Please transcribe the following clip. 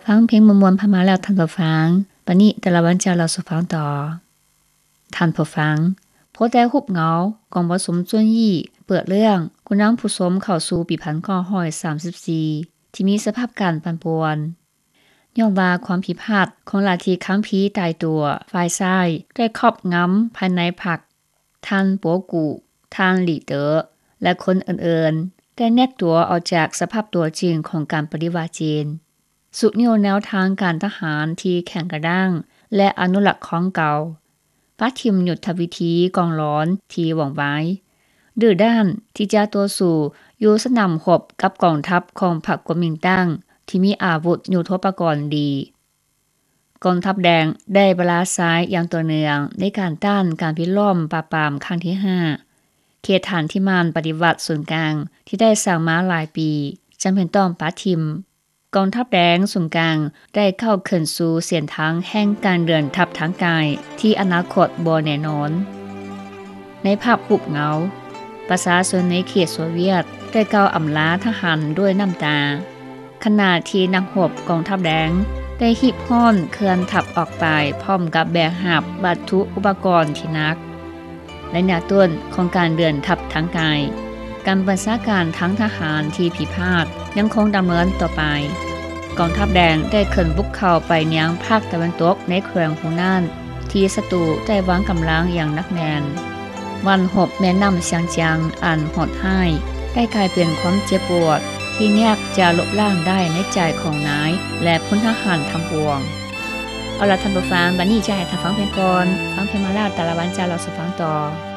ຟັງເພງມ່ວນໆຜ່ານມາແລ້ວທ່ານຜູ້ຟັງ, ບັດນີ້ຕາລະວັນຈະເລົ່າສູ່ຟັງຕໍ່. ທ່ານຜູ້ຟັງ, ໂພສເຕັກຮູບເງົາ ກອງປະຊຸມຈຸນຢີເປີດເລື່ອງ ຜູ້ນຳຜູ້ຊົມເຂົ້າສູ່ປີພັນເກົ້າຮ້ອຍສາມສິບສີ່ ທີ່ມີສະພາບການປັ່ນປ່ວນ ຍ້ອນວ່າຄວາມຜິດພາດຂອງລັດທິຄຳພີຕາຍຕົວຝ່າຍຊ້າຍ ໄດ້ຄອບງຳພາຍໃນພັກ. ທ່ານ ໂປກູ, ທ່ານ ຫຼີເຕີ ແລະ ຄົນອື່ນໆ ໄດ້ແນບຕົວອອກຈາກສະພາບຕົວຈິງຂອງການປະຕິວັດຈີນ, ຊຸດຍູ້ແນວທາງການທະຫານທີ່ແຂງກະດ້າງ ແລະ ອະນຸລັກຂອງເກົ່າ, ປະຖິ້ມຍຸດທະວິທີກອງຫຼອນທີ່ຫວ່ອງໄວ, ດື້ດ້ານທີ່ຈະຕໍ່ສູ້ຢູ່ສະໜາມຮົບກັບກອງທັບຂອງພັກກົວມິນຕັງທີ່ມີອາວຸດຍຸດໂທປະກອນດີ. ກອງທັບແດງໄດ້ປະລາຊາຍຢ່າງຕໍ່ເນື່ອງໃນການຕ້ານການປິດລ້ອມປາບປາມຄັ້ງທີຫ້າ. ເຂດຖານທີ່ໝັ້ນປະຕິວັດສູນກາງທີ່ໄດ້ສ້າງມາຫຼາຍປີ ຈຳເປັນຕ້ອງປະຖິ້ມ. ກອງທັບແດງສູນກາງໄດ້ກ້າວຂຶ້ນສູ່ເສັ້ນທາງແຫ່ງການເດີນທັບທາງໄກທີ່ອະນາຄົດບໍ່ແນ່ນອນ. ໃນພາບຮູບເງົາ, ປະຊາຊົນໃນເຂດໂຊວຽດໄດ້ກ່າວອຳລາທະຫານດ້ວຍນ້ຳຕາ, ຂະນະທີ່ນັກຮົບກອງທັບແດງໄດ້ຮີບຮ້ອນເຄື່ອນທັບອອກໄປພ້ອມກັບແບກຫາບວັດຖຸອຸປະກອນທີ່ໜັກ. ໄລຍະຕົ້ນຂອງການເດີນທັບທາງໄກ, ການບັນຊາການທາງທະຫານທີ່ຜິດພາດຍັງຄົງດຳເນີນຕໍ່ໄປ. ກອງທັບແດງໄດ້ເຄື່ອນບຸກເຂົ້າໄປຍັງພາກຕາເວັນຕົກໃນແຂວງຫົວໜານ ທີ່ສັດຕູໄດ້ວາງກຳລັງຢ່າງໜັກແໜ້ນ. ວັນຮົບແມ່ນ້ຳຊຽງຈຽງອັນໂຫດຮ້າຍໄດ້ກາຍເປັນຄວາມເຈັບປວດທີ່ຍາກຈະລົບລ້າງໄດ້ໃນໃຈຂອງນາຍ ແລະ ພົນທະຫານທັງປວງ. ເອົາລະທ່ານຜູ້ຟັງ, ບັດນີ້ຈະໃຫ້ທ່ານຟັງເພງກ່ອນ. ຟັງເພງມາແລ້ວ, ຕາລະວັນຈະເລົ່າສູ່ຟັງຕໍ່.